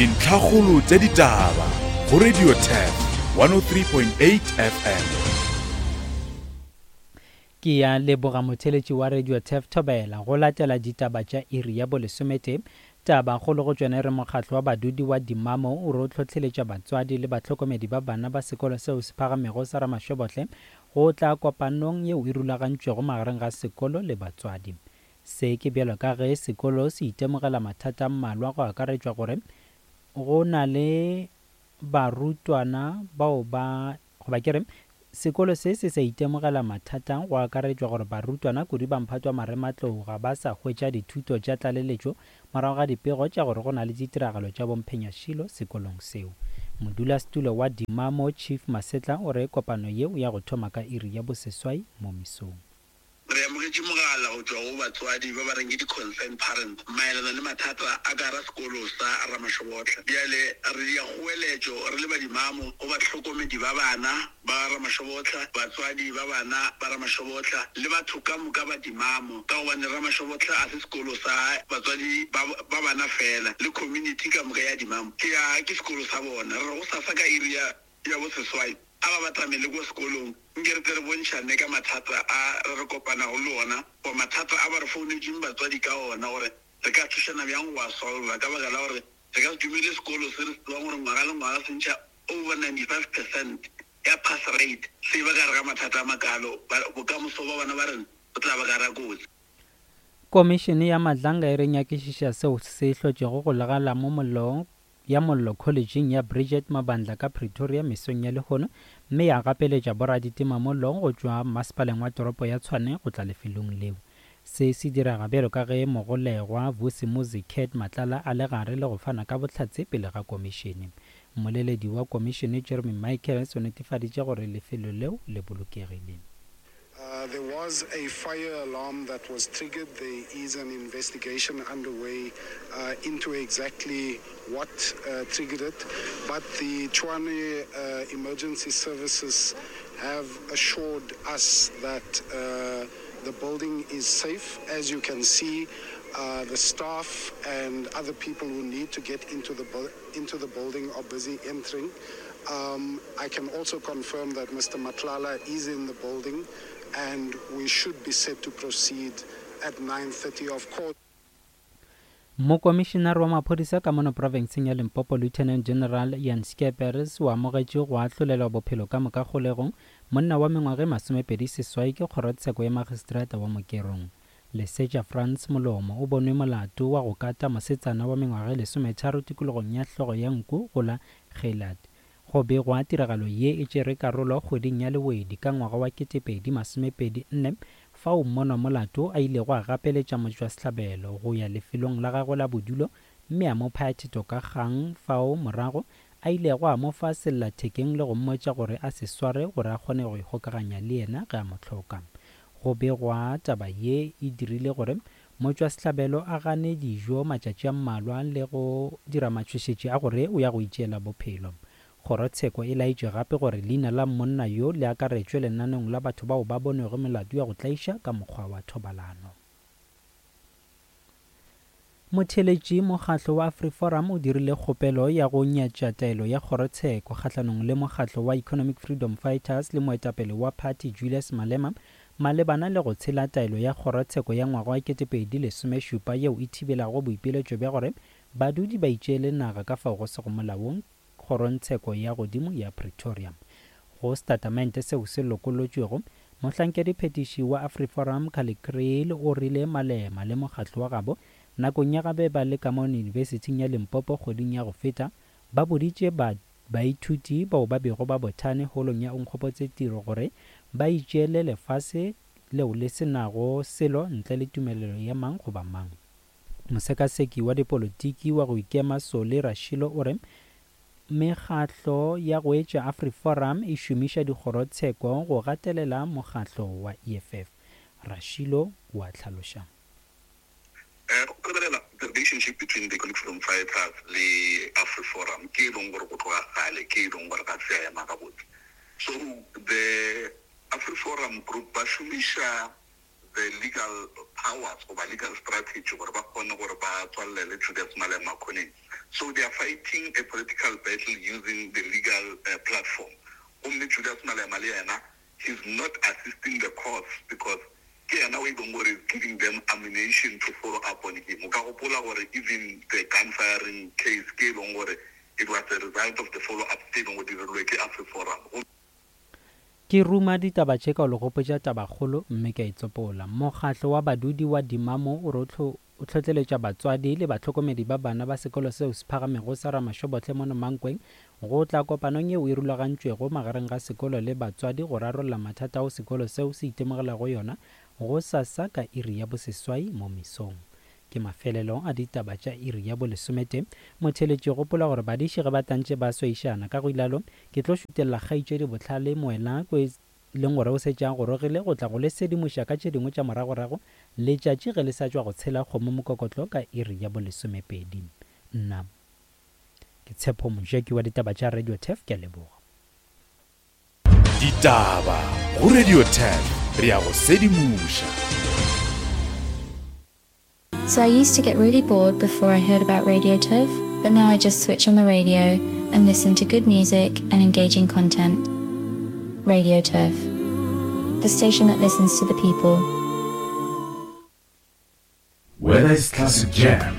Dintlhakgolo tša ditaba go Radio Turf 103.8 FM. Ke ya leboga motheletši wa Radio Turf Thobela go latela ditaba tša iri ya bolesometee. Taba kgolo go tšona e re mokgatlo wa badudi wa Dimamo o re o hlohleletša batswadi le bahlokomedi ba bana ba sekolo seo se phagamego sa Ramashwebohle go tla kopanong yeo e rulagantšwego magareng ga sekolo le batswadi. Se ke bjalo ka ge sekolo se itemogela mathata a mmalwa go akaretšwa gore go na le barutwana bao ba goba ke re sekolo se se sa itemogela mathata go akaretšwa gore barutwana kudu ba mphato wa marematlou ga ba sa hwetša dithuto tša tlaleletšo morago ga dipego tša gore go na le ditiragalo tša bomphenyašilo sekolong seo. Modulasetulo wa Dimamo Chief Masetla o re kopano yeo ya go thoma ka iri ya boseswai mo mesong. Re amogetše mogala go tšwa go batswadi ba ba reng ke di-concerned parents maelana le mathata a ka gara sekolo sa Ramashobotla. Bjale re dia kgoeletšo re le badimamo go bahlokomedi ba bana ba Ramashobotla, batswadi ba bana ba Ramashobotla le batho ka moka ba Dimamo ka gobane Ramashobotla a se sekolo sa batswadi ba ba bana fela le community ka moka ya Dimamo ke ya ke sekolo sa bona. Re re gosasa ka iri ya ya boseswai a ba batamele ko sekolong nke re tle re bontšhane ka mathata a re re kopanago le ona goba mathata a ba re founetšeng batswadi ka ona gore re ka thušana bjang go a solva ka baka la gore re ka se dumele sekolo se re se tsebang gore ngwaga le ngwaga se ntšha over 95 percent ya pass rate se ba ka gare ga mathata a makalo bokamoso ba bana ba rena bo tla ba ka gare ga kotsi. Komišene ya Madlanga e re nyakišiša seo se hlotšego go legala mo mollo ya mollo Kholetšing ya Bridget Mabandla ka Pretoria mesong ya lehono mme ya gapeletša boraditimamollo go tšwa Mmasepaleng wa Toropo ya Tshwane go tla lefelong leo. Se se direga bjalo ka ge mogolegwa Vusimuzi Cat Matlala a le gare le go fana ka bohlatse pele ga komišene. Mmoleledi wa komišene Jeremy Michaels o netefaditše gore lefelo leo le bolokegile. Uh, there was a fire alarm that was triggered. There is an investigation underway uh, into exactly what uh, triggered it. But the Tshwane uh, Emergency Services have assured us that uh, the building is safe. As you can see, uh, the staff and other people who need to get into the, bu- into the building are busy entering. Um, I can also confirm that Mr. Matlala is in the building and we should be set to proceed at 9.30 of course. Mokomišenare wa maphodisa ka mono profenseng ya Limpopo Lieutenant General Jan Scheepers o amogetše go ahlolelwa bophelo ka moka kgolegong monna wa mengwaga e 28 ke kgorotsheko ya magistrata wa Mokerong. Lesetša Frans Molomo o bonwe molato wa go kata mosetsana wa mengwaga e 13 tikologong ya hlogo ya nku go la Geelard. Go begwa tiragalo ye e tšere karolo kgweding ya Lewedi ka ngwaga wa 2024 fao mmonwamolato a ilego a gapeletša motšwasehlabelo go ya lefelong la gagwe la bodulo mme a mo phaya thetho ka kgang fao morago a ilego a mo fa sellathekeng le go mmotša gore a se sware gore a kgone go ikgokaganya le yena ge a mo hloka. Go begwa taba ye e dirile gore motšwasehlabelo a gane dijo matšatši a mmalwa le go dira matšhošetši a gore o ya go itšeela bophelo. Kgorotsheko e laetše gape gore leina la monna yo le akaretšwe lenaneong la batho bao ba bonwego melato ya go tlaiša ka mokgwa wa thobalano. Motheeletši, Mokgatlo wa AfriForum o dirile kgopelo ya go nyatša taelo ya kgorotsheko kgahlanong le mokgatlo wa Economic Freedom Fighters le moetapele wa phathi Julius Malema malebana le go tshela taelo ya kgorotsheko ya ngwaga wa 2017 yeo e thibelago boipiletšo bja gore badudi ba itšeele naga ka fao go sego molaong Kgorongtsheko ya Godimo ya Pretoria. Go setatamente seo se lokolotšwego, mohlankediphethiši wa AfriForum Kallie Kriel o rile Malema le mokgatlo wa gabo nakong ya ga be ba le ka mo Yunibesithing ya Limpopo kgweding ya go feta ba boditše ba baithuti bao ba bego ba bothane holong ya Onkgopotse Tiro gore ba itšeele lefase leo le se nago selo ntle le tumelelo ya mang goba mang. Mosekaseki wa dipolotiki wa go ikema Solly Rashilo o re mekgatlo ya go etša AfriForum e šomiša dikgorotsheko go gatelela mokgatlo wa EFF. Rashilo o a hlaloša. Go lebelela the relationship between the Economic Freedom Fighters le AfriForum ke e leng gore go tloga kgale ke e leng gore ga se ya ema gabotse. So the AfriForum group ba šomiša. the legal powers goba legal strategy gore ba kgone gore ba tswalele Julius Malema khoneng. So they are fighting a political battle using the legal platform. Gomme Julius Malema le yena he's not assisting the cause because ke yena o e leng gore is giving them ammunition to follow up on him. O ka gopola gore even the gun firing case ke e leng gore it was a result of the follow up tse e leng gore di dirilwe ke AfriForum. Ke ruma ditaba tše ka go le gopotša tabakgolo mme ke a e tsopola. Mokgatlo wa badudi wa Dimamo o re o hlohleletša batswadi le bahlokomedi ba bana ba sekolo seo se phagamego sa Ramashobohle mono Mankweng go tla kopanong yeo e rulagantšwego magareng ga sekolo le batswadi go rarolla mathata ao sekolo seo se itemogelago yona gosasa ka iri ya boseswai mo mesong. Ke mafelelo a ditaba tša iri ya bolesometee. Motheeletši, gopola gore badiši ge ba tantše ba swaišana. Ka go ilalo, ke tlo šutelela kgaetšedi Bohlale Moela ko e leng gore o šetše a gorogile go tla go le sedimoša ka tše dingwe tša moragorago letšatši ge le sa tšwa go tshela kgomo mokokotlo ka iri ya bolesomepedi. Nna ke Tshepo Mojaki wa ditaba tša Radio Turf, ke a leboga. Ditaba go Radio Turf, re a go sedimoša. So I used to get really bored before I heard about Radio Turf, but now I just switch on the radio and listen to good music and engaging content. Radio Turf, the station that listens to the people. Whether it's classic jams,